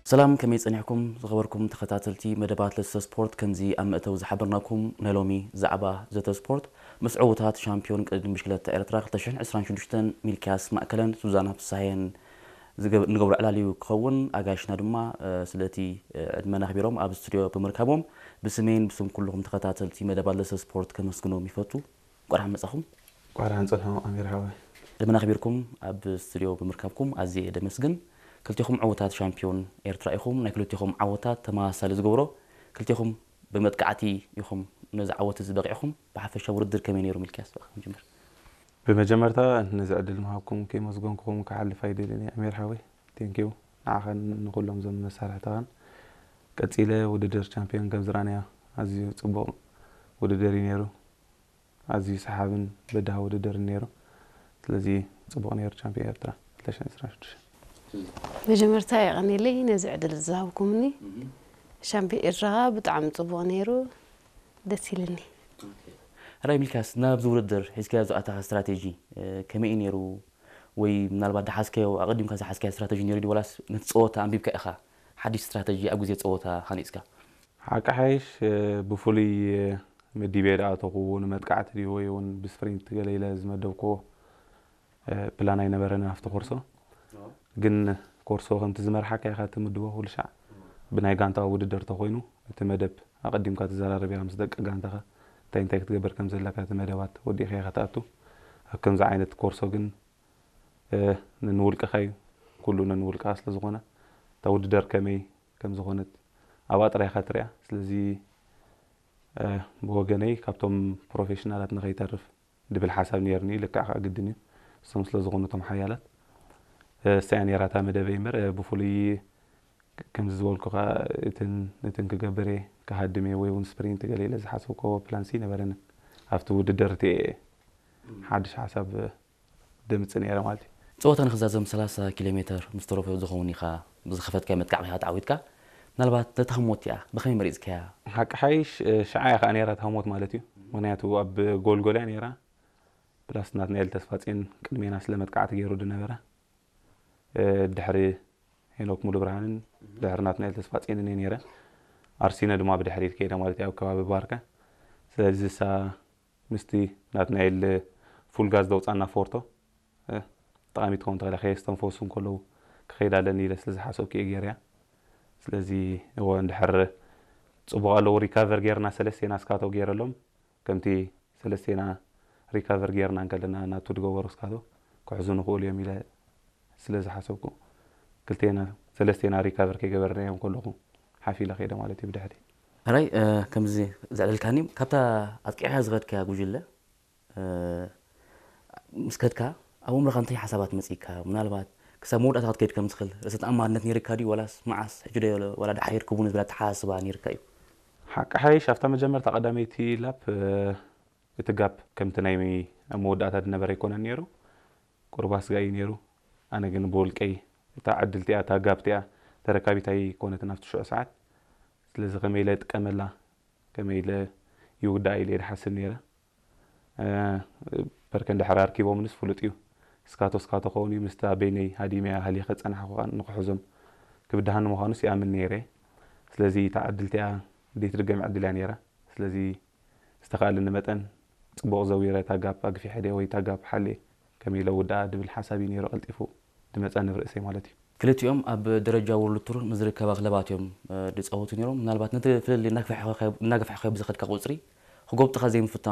ሰላም፣ ከመይ ጸኒሕኩም ዝኸበርኩም ተኸታተልቲ መደባት ለሰ ስፖርት? ከምዚ ኣብ መእተዊ ዝሓበርናኩም፣ ናይ ሎሚ ዛዕባ ዘተ ስፖርት ምስ ዕዉታት ሻምፒዮን ቅድድም ብሽክለታ ኤርትራ ክልተ ሽሕን ዕስራን ሽዱሽተን ሚልክያስ ማእከለን ሱዛና ፍሳሄን ዝገብ-፣ ንገብሮ ዕላል እዩ ክኸውን። ኣጋይሽና ድማ፣ እ፣ ስለቲ፣ እ፣ ዕድመና ኣኽቢሮም ኣብ ስቱድዮ ብምርካቦም ብስመይን ብስም ኩልኹም ተኸታተልቲ መደባት ለሰ ስፖርት ከመስግኖም ይፈቱ። እንቋዕ ደሓን መጻኹም። እንቋዕ ደሓን ጸንሑ ኣሚር ሓወይ። ዕድመና ኣኽቢርኩም ኣብ ስቱድዮ ብምርካብኩም ኣዝየ እየ ደመስግን። ክልቴኹም ዕዉታት ሻምፒዮን ኤርትራ ኢኹም። ናይ ክልቴኹም ዓወታት ተመሳሳሊ ዝገብሮ፣ ክልቴኹም ብመጥቃዕቲ ኢኹም ነዚ ዓወት እዚ በቒዕኹም። ብሓፈሻ ውድድር ከመይ ነይሩ? ሚልክያስ፣ ብኣኻ ክንጅምር። ብመጀመርታ ነዚ ዕድል ምሃብኩም ከየመስገንኩኹም ክሓልፍ ኣይደልን እየ ኣሚር ሓወይ። ቴንኪዩ ንዓኻን ንኹሎም እዞም መሳርሕትኻን። ቀጺለ ውድድር ቻምፒዮን ከም ዝረኣናዮ ኣዝዩ ጽቡቕ ውድድር እዩ ነይሩ። ኣዝዩ ሰሓብን በዳሂ ውድድርን ነይሩ። ስለዚ ጽቡቕ ነይሩ ቻምፒዮን ኤርትራ ክልተ ሽሕን ዕስራን ሽዱሽተን። መጀመርታ የቐንየለይ ነዚ ዕድል ዝሃብኩምኒ። ሻምፒዮን ኤርትራ ብጣዕሚ ጽቡቕ ነይሩ፣ ደስ ኢልኒ። ሕራይ ሚልክያስ፣ ናብዚ ውድድር ሒዝካዮ ዝኣተኻ ስትራቴጂ፣ እ፣ ከመይ እዩ ነይሩ? ወይ ምናልባት ዝሓዝካዮ፣ ኣቐዲምካ ዝሓዝካዮ ስትራቴጂ ነይሩ ድዩ? ዋላስ ነቲ ጸወታ ኣንቢብካ ኢኻ ሓድሽ ስትራቴጂ ኣብ ግዜ ጸወታ ሃኒጽካ? ሓቂ ሓይሽ፣ እ፣ ብፍሉይ፣ እ፣ መዲበ ዝኣተኹ ንመጥቃዕቲ ድዩ ወይ እውን ብስፕሪንት ገለ ኢለ ዝመደብክዎ፣ እ፣ ፕላን ኣይነበረን ኣብቲ ኮርሶ። ግን ኮርሶ ከምቲ ዝመርሓካ ኢኻ ትምድቦ ኩሉ ሻዕ። ብናይ ጋንታ ውድድር ተኾይኑ እቲ መደብ ኣቐዲምካ ትዘራረብ ኢኻ ምስ ደቂ ጋንታኻ። እንታይ እንታይ ክትገብር ከም ዘለካ እቲ መደባት ወዲእካ ኢኻ ትኣቱ። ኣብ ከምዚ ዓይነት ኮርሶ ግን፣ እ፣ ነንውልቅኻ እዩ። ኩሉ ነንውልቅኻ ስለ ዝኾነ እታ ውድድር ከመይ ከም ዝኾነት ኣብኣ ጥራይ ኢኻ ትሪኣ። ስለዚ፣ እ፣ ብወገነይ ካብቶም ፕሮፌሽናላት ንኸይተርፍ ድብል ሓሳብ ነይርኒ። ልክዕ ከኣ ግድን እዩ። እሶም ስለ ዝኾኑ እቶም ሓያላት። እ፣ እሳ እያ ነይራ እታ መደበይ እምበር፣ እ፣ ብፍሉይ ከምዚ ዝበልኩ ከኣ እትን፣ እትን ክገብር እየ፣ ክሃድም እየ ወይ እውን ስፕሪንት ገለ ኢለ ዝሓሰብክዎ ፕላንሲ ነበረንን። ኣብቲ ውድድር እቲ እየ ሓድሽ ሓሳብ ደምጽ ነይረ ማለት እዩ። ጸወታ ንኽዛዘም ሰላሳ ኪሎ ሜተር ምስ ተረፎ ዝኸውን ኢኻ ብዝኸፈትካዮ መጥቃዕቲ ኢኻ ተዓዊትካ። ምናልባት ነታ ህሞት እቲኣ ብኸመይ መሪጽካያ? ሓቂ ሓይሽ፣ እ፣ ሽዓ እያ ከኣ ነይራ እታ ህሞት ማለት እዩ። ምኽንያቱ ኣብ ጎልጎል እያ ነይራ። ፕላስ ናትናኤል ተስፋጽዮን ቅድሜና ስለ መጥቃዕቲ ገይሩ ዝነበረ፣ እ፣ ድሕሪ ሄኖክ ሙሉ ብርሃንን ድሕሪ ናትናኤል ተስፋጽዮንን እየ ነይረ። ኣርሲነ ድማ ብድሕሪት ከይደ ማለት እዩ ኣብ ከባቢ ባርከ። ስለዚ እሳ ምስቲ ናትናኤል ፉል ጋዝ ዘውጻና ፎርቶ፣ እ፣ ጠቓሚት ትኸውን ትኽእል እያ፣ ከየስተንፈሱ እንከለዉ ክኸይድ ኣለኒ ኢለ ስለ ዝሓሰብኩ እየ ገይረያ። ስለዚ እወ እንድሕር ጽቡቕ ኣለዉ ሪካቨር ጌርና ሰለስቴና እስካቶ ገይረሎም ከምቲ ሰለስቴና ሪካቨር ጌርና እንከለና ናቱ ዝገበሩ እስካቶ ክሕዙ ንኽእሉ እዮም ኢለ ስለ ዝሓሰብኩ ክልቴና ሰለስቴና ሪካቨር ከይገበርናዮም ከለኹ ሓፍ ኢለ ከይደ ማለት እዩ ብድሕሪ። ሕራይ፣ እ፣ ከምዚ ዘዕለልካኒ ካብታ ኣጥቂዕካ ዝኸድካያ ጉጅለ፣ እ፣ ምስ ከድካ ኣብ ኣእምሮኻ እንታይ ሓሳባት መጺእካ? ምናልባት ክሳብ መወዳእታ ክትከይድ ከም ትኽእል ርእሰ ተኣማንነት ነይርካ ድዩ? ዋላስ መዓስ ሕጂ ዶ ዋላ ደሓር ክቡን ዝብል ኣተሓሳስባ ነይርካ እዩ? ሓቂ ሓይሽ ኣብታ መጀመርታ ቀዳመይቲ ላፕ፣ እ፣ እቲ ጋፕ ከምቲ ናይ ኣብ መወዳእታ ዝነበረ ኣይኮነን ነይሩ። ቁሩብ ኣስጋኢ ነይሩ። ኣነ ግን ብውልቀይ እታ ዕድል እቲኣ፣ እታ ጋፕ እቲኣ ተረካቢት ኣይኮነትን ኣብቲ ሽዑ ሰዓት። ስለዚ ከመይ ኢለ እጥቀመላ፣ ከመይ ኢለ ይውዳኣ ኢለ እየ ዝሓስብ ነይረ። እ፣ በርከ እንድሕር ኣርኪቦምንስ ፍሉጥ እዩ። እስካቶ እስካቶ ኸውን እዩ፣ ምስታ በይነይ ሃዲመያ ሃሊኸ ጸናሕኩ ከኣ ንክሕዞም ክብድሃኒ ምዃኑስ ይኣምን ነይረ። ስለዚ እታ ዕድል እቲኣ ዘይትድገም ዕድል እያ ነይራ። ስለዚ ዝተኻእለኒ መጠን ጽቡቕ ዘዊረ እታ ጋፕ ኣግፊሐ ድየ ወይ እታ ጋፕ ሓልየ ከመይ ኢለ ውድኣ ድብል ሓሳብ እዩ ነይሩ ቀልጢፉ ድመጻኒ ኣብ ርእሰይ ማለት እዩ። ክልቲኦም ኣብ ደረጃ ወርልድ ቱር ንዝርከባ ክለባት እዮም፣ እ፣ ድጻወቱ ነይሮም። ምናልባት ነቲ ፍልልይ እናግፋሕካዮ፣ እናገፋሕካዮ ብዝኸድካ ቁጽሪ ክጎብጥኻ ዘይምፍታኑ